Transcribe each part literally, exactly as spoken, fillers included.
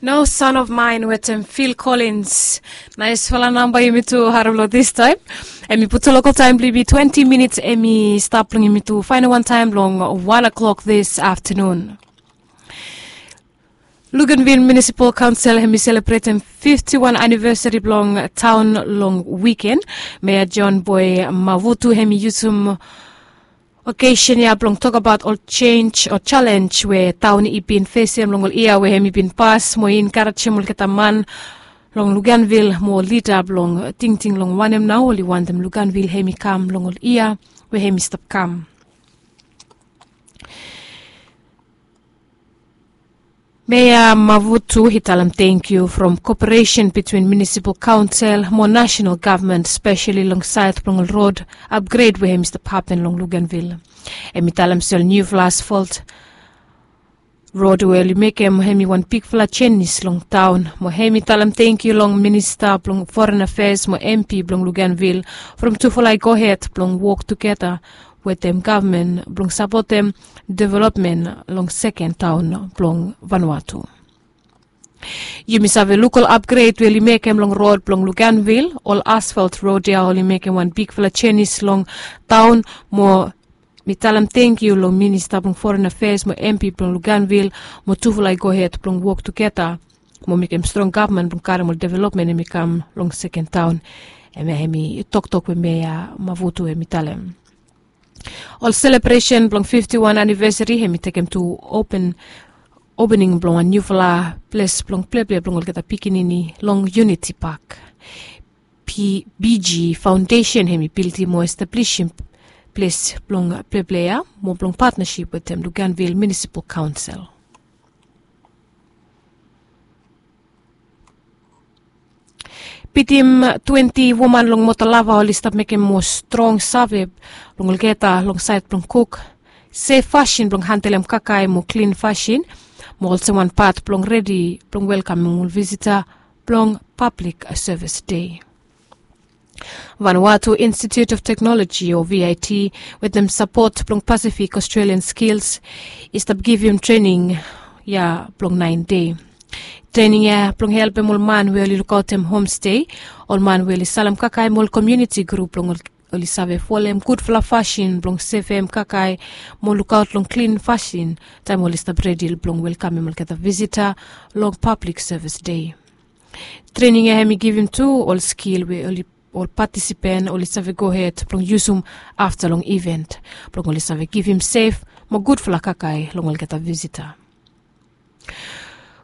No Son of Mine wetem Phil Collins. Naisfala namba yumi tu harem long this time. Em i putum local time blong yumi twenty minutes, em i stap long yumi tu final one time long one o'clock this afternoon. Luganville Municipal Council em i selebretem fifty one anniversary blong taon long wiken. Meya John Boy Mavutu em i yusum okesen ya blong tokbaot ol chenj o jalenj we taon i bin fesem long ol yia we em i bin pas mo i enkarejem olgeta man long Luganville mo lida blong tingting long wanem nao oli wantem Luganville em i kam long ol yia we em i stap kam. Meya Mavutu i talem tengkiu from koperesen bitwin munisipal kaonsel mo nasenal gavman spesali long saed blong ol rod apgred we em i stap hapen long Luganvil. Em i talem se ol niufala asfalt rod we oli mekem em i wan bigfala jenis long taon mo em i talem tengkiu long minista blong foren afeas mo empi blong Luganvil from tufala i gohed blong wok tugeta wetem gavman blong sapotem developmen long seken taon blong Vanuatu. Yumi save luk ol apgred we oli mekem long rod blong Luganvil, ol asfalt rod ya oli mekem wan bigfala jenis long taon mo mi talem tengkiu long minista blong foren afeas mo empi blong Luganvil mo tufala i gohed blong wok tugeta mo mekem strong gavman blong karem ol developmen em i kam long seken taon. Em ya em i toktok we meya Mavutu em i talem. Ol selebresen blong fifti wan anivesari em i tekem tu open opening blong wan niufala ples blong pleple blong olgeta pikinini long Uniti Pak. Biji Faondesen em i bildim mo establisim ples blong pleple ya mo blong patnasip wetem Luganvil Munisipal Kaonsel. Bitim twenti woman long Motolava oli stap mekem mo strong save long olgeta long saed blong kuk sef fasin blong handelem kakae mo klin fasin mo olsem wan pat blong redi blong welkamem ol visita blong Pablik Sevis Dei. Vanuatu Institute of Technology o VIT wetem sapot blong Pacific Australian Skills i stap givim trening ya blong naen dei. Trening ya blong helpem ol man we oli lukaotem homstei, ol man we oli salem kakae mo ol komuniti grup blong oli save folem gudfala fasin blong sevem kakae mo lukaot long klin fasin taem oli stap redi blong welkamem olgeta visita long Pablik Sevis Dei. Trening ya em i givim tu ol skil we ol patisipen oli save gohed blong yusum afta long iven blong oli save givim sef mo gudfala kakae long olgeta visita.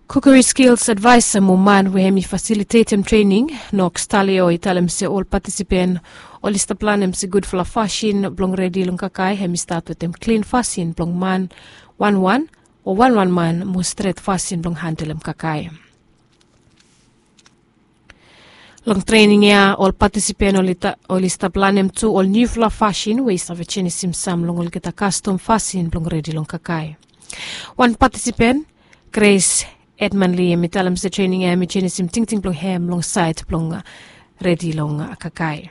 Kukeri skils advaesa mo man we em i fasilitetem trening, Noks Talio, i talem se ol patisipen oli stap lanem se gudfala fasin blong redi long kakae em i stat wetem klin fasin blong man wanwan o wanwan man mo stret fasin blong handelem kakae. Long trening ya ol patisipen oli stap lanem tu ol niufala fasin we i save jenisim sam long olgeta kastom fasin blong redi long kakae. Wan patisipen, Gres Edmanli, em i talem se trening ya em i jenisim tingting blong hem long saed blong redi long kakae.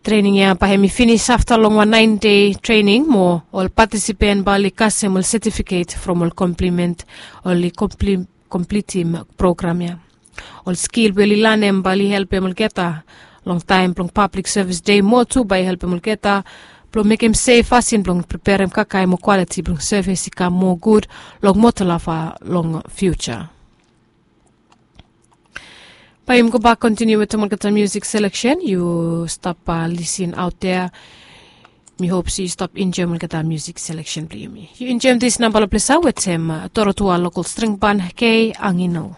Trening ya bae em i finis afta long wan naen dei trening mo ol patisipen bae oli kasem ol setifiket from ol komplimen oli komplitim program ya. Ol skil we oli lanem bae oli helpem olgeta long taem blong Pablik Sevis Dei mo tu bae i helpem olgeta blong mekem sef fasin blong preperem kakae mo kwaliti blong sevis i kam moa gud long Motolava long fiuja. Bae yumi gobak kontiniu wetem olgeta musik seleksen. Yu stap lisin aot ya. Mi hop se yu stap enjoem olgeta musik seleksen blong yumi. Yu enjoem dis nambala ples ya wetem Dorotua Lokol String Ban, Kei Angino.